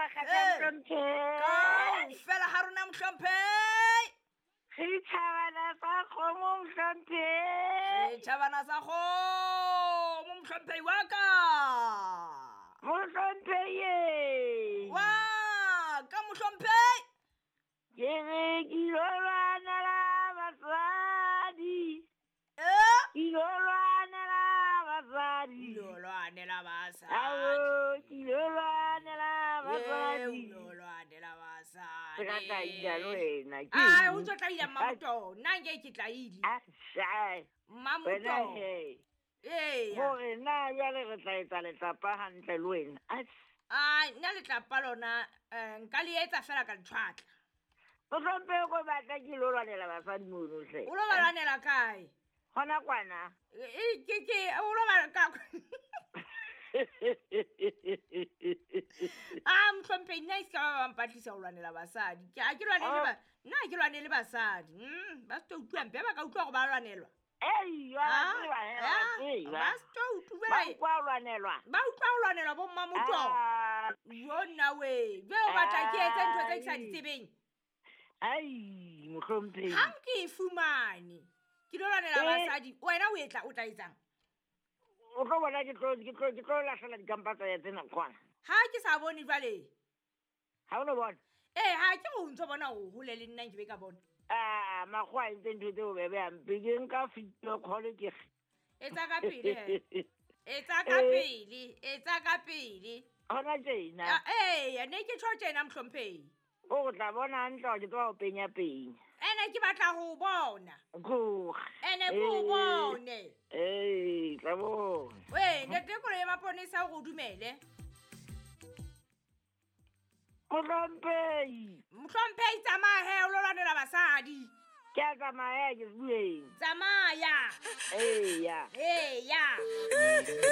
makgabane Ee. mohlomphehi. Kaofela ha rona mohlomphehi. Re tjhabana sa kgomo mohlomphehi. Re tjhabana sa kgomo mohlomphehi wa ka. Mohlomphehi. Wa ka mohlomphehi. Ke re ke ilo lwanela basadi. Eh? Ke ilo lwanela basadi. Ilo lwanela basadi. Ao, ke ilo lwanela Eh, basadi. ilo lwanela basadi. Se ka tlaila le wena, ke Ai, eng? o ntso tlaila mmamoto. Nna nke ke tlaile. Ah, shai. Wena Mmamoto. he. Eya. Hore na jwale re tla etsa letlapa hantle le wena. Atjhe. Ai, nna letlapa lona nka le etsa fela ka letshwatla. Mohlomphehi ko batla ke ilo lwanela basadi mono hle. O lo ba lwanela kae? Hona kwana. E, ke o lo ba ka Ah, mohlomphehi nna e se ka ba ba mpatlisa ho lwanela basadi. Ke ha ke lwanele Oh. ba nna ha ke lwanele basadi. Ba se tlo utlwa mpe ba ka utlwa hore ba lwanelwa. Ei, wa Ah, tseba he, wa ah, tseba. ba se tlo utlwa Ba utlwa ho lwanelwa. Ba utlwa ho lwanelwa bo mmamoto. Ah. Yo nna we. Jwale o batla ke etse ntho tse ke sa di Ai. tsebeng. Ai, mohlomphehi. Hang ke e fumane. Ke lo lwanela Eh. basadi. Wena o etla o tla etsang? O tlo bona ke tlo lahlela dikampa tsa ya tsena kwana. Ha ke sa bone jwale. Ha o no bona? Eh, ha ke o ntso bona o hole le nna nke be ka bona. Ah, makgowa a entse ntho tse bobebe hampe. Ke nka video call ke re. Etsa ka pele he. Etsa ka Eh. pele, etsa ka pele. Hona tjena. Ah, eh, ne ke tjho tjena mohlomphehi. O tla bona hantle hore ke tseba ho penya penya. Ene ke batla ho o bona. Tloga. Ene ke o Eh. bone. Eh, tla bona. Wee, ntate koloi ya maponesa hore o dumele. Mohlomphehi. Mohlomphehi tsamaya he, o lo lwanela basadi. Ke a tsamaya ke bueng. Tsamaya. Eya. Eya.